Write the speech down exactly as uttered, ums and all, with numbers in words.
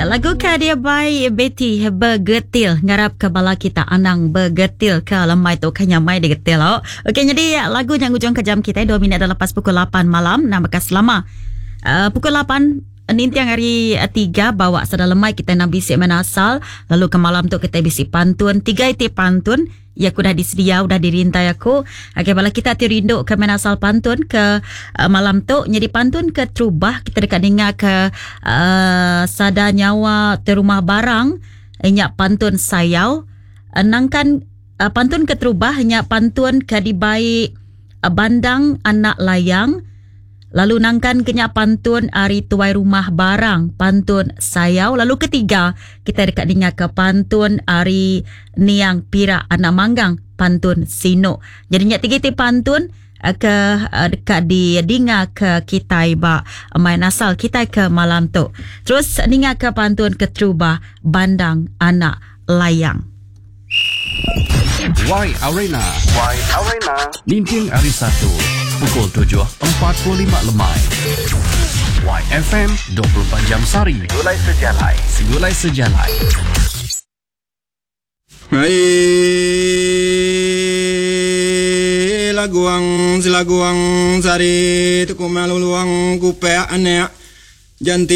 Lagu ka dia by Betty Begetil. Ngarap ke bala kita anang begetil ke lemai tu kan nyamai digetil. Oh. Okey, jadi lagu yang ujung ke jam kita dua minit dah lepas pukul lapan malam. Nama bekas selama. Uh, pukul lapan nintiang hari tiga bawa sada lemai kita nak bisik menasal. Lalu ke malam tu kita bisik pantun. Tiga iti pantun. Ya aku dah disedia, udah dirintai aku. Okey, bala kita ti rindu ke menasal pantun ke uh, malam tu. Jadi pantun ke terubah kita dekat dengar ke uh, sada nyawa terumah barang. Nyak pantun sayau. Uh, nangkan uh, pantun ke terubah nyak pantun ke dibai uh, bandang anak layang. Lalu nangkan kenyak pantun ari tuai rumah barang, pantun sayau. Lalu ketiga, kita dekat dengar ke pantun ari niang pirak anak manggang, pantun sinuk. Jadi nyak tiga ti pantun ke dekat di dengar ke kita ba main asal kita ke malam tu. Terus dengar ke pantun keterubah bandang anak layang. Y Arena. Y Arena. Ninting hari Satu pukul tujuh empat puluh lima lemai. Y F M dua puluh empat jam sehari. Segulai sejalai. Segulai sejalai. Hai laguang silaguang sari tuku malu luang kupe anek janti